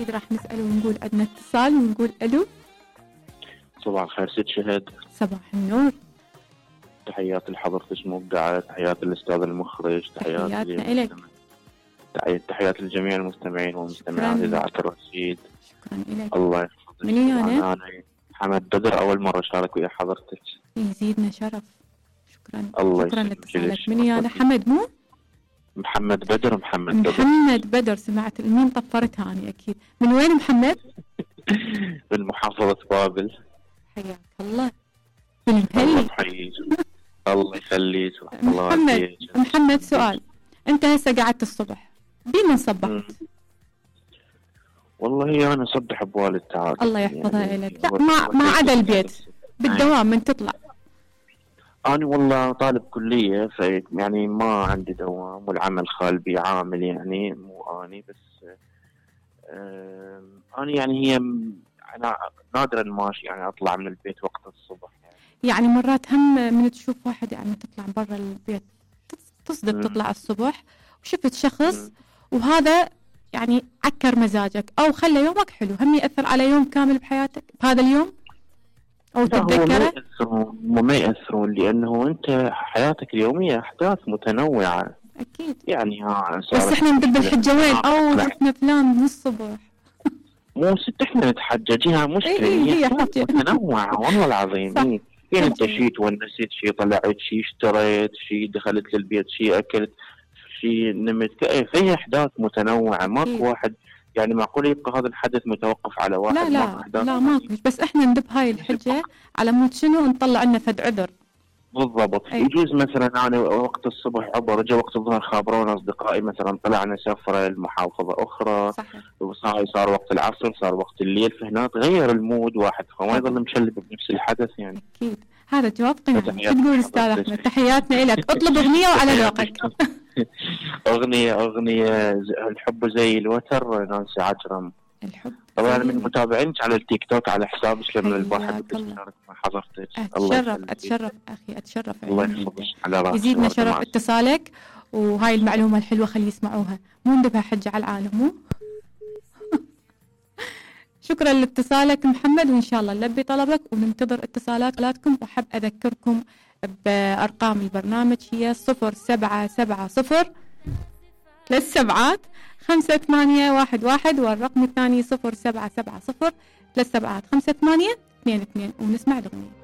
أكيد راح نسأل ونقول عندنا اتصال ونقول ألو. صباح الخير ست شهد. صباح النور. تحياتي لحضرتك مبدعة، تحياتي للأستاذ المخرج، تحياتنا إلك. تحياتي لجميع المستمعين والمستمعات إذاعة الرشيد. شكرا إلك. الله يحفظك. من أنا محمد بدر، أول مرة أشارك ويا حضرتك. يزيدنا شرف. شكرا. الله شكرا لاتصالك. من أنا حمد مو؟ محمد بدر. محمد بدر. سمعت الميم طفرتها أنا أكيد. من وين محمد؟ من محافظة بابل. حياك الله. من المهلي. الله يخليك. محمد سؤال، أنت هسه قعدت الصبح بين صبحت؟ والله أنا صبح بوالد تعالى. الله يحفظها يعني لك. لا ما عدا البيت بالدوام من تطلع. أنا والله طالب كلية، يعني ما عندي دوام والعمل خال بي عامل، يعني مو أني بس. أنا يعني أنا نادرا ماشي يعني أطلع من البيت وقت الصبح يعني مرات هم من تشوف واحد يعني تطلع برا البيت تصدق تطلع الصبح وشفت شخص وهذا يعني عكر مزاجك أو خلى يومك حلو، هم يأثر على يوم كامل بحياتك بهذا اليوم أو تتذكره؟ ما يأثرون لأنه أنت حياتك اليومية أحداث متنوعة. أكيد يعني بس إحنا ندب الحجة وين؟ أو شفنا فلان من الصبح. مو ست إحنا نتحججها مشكلة. هي متنوعة والله العظيم. يعني أنت شي تونست، شي طلعت، شي اشتريت، شي دخلت للبيت، شي أكلت، شي نمت، فهي أحداث متنوعة. ماكو واحد يعني معقول يبقى هذا الحدث متوقف على واحد. لا ماكو. بس احنا ندب هاي الحجة على مود شنو نطلع لنا فد عذر. بالضبط. يجوز مثلا أنا وقت الصبح عبر رجع وقت الظهر خابرونا أصدقائي مثلا طلعنا سفرة لمحافظة أخرى. صار وقت العصر، صار وقت الليل، فهنا تغير المود واحد فما يظل مشلب بنفس الحدث يعني. أكيد هذا جواب قناعي. شو تقول أستاذ أحمد؟ تحياتنا لك. اطلب أغنية وعلى ذوقك. أغنية الحب زي الوتر نانسي عجرم. الحب طبعا من متابعينك على التيك توك على حسابك لما الواحد بيشارك مع حضرتك. أتشرف أخي أتشرف. الله يحفظك على راسك. يزيدنا شرف اتصالك وهاي المعلومة الحلوة خلي يسمعوها، مو ندبها حجة على العالم مو. شكرا لاتصالك محمد، وإن شاء الله نلبي طلبك وننتظر اتصالاتكم. وأحب أذكركم بأرقام البرنامج هي 0770 3 5-8-1-1 والرقم الثاني 0770 3 5-8-2-2 ونسمع الأغنية.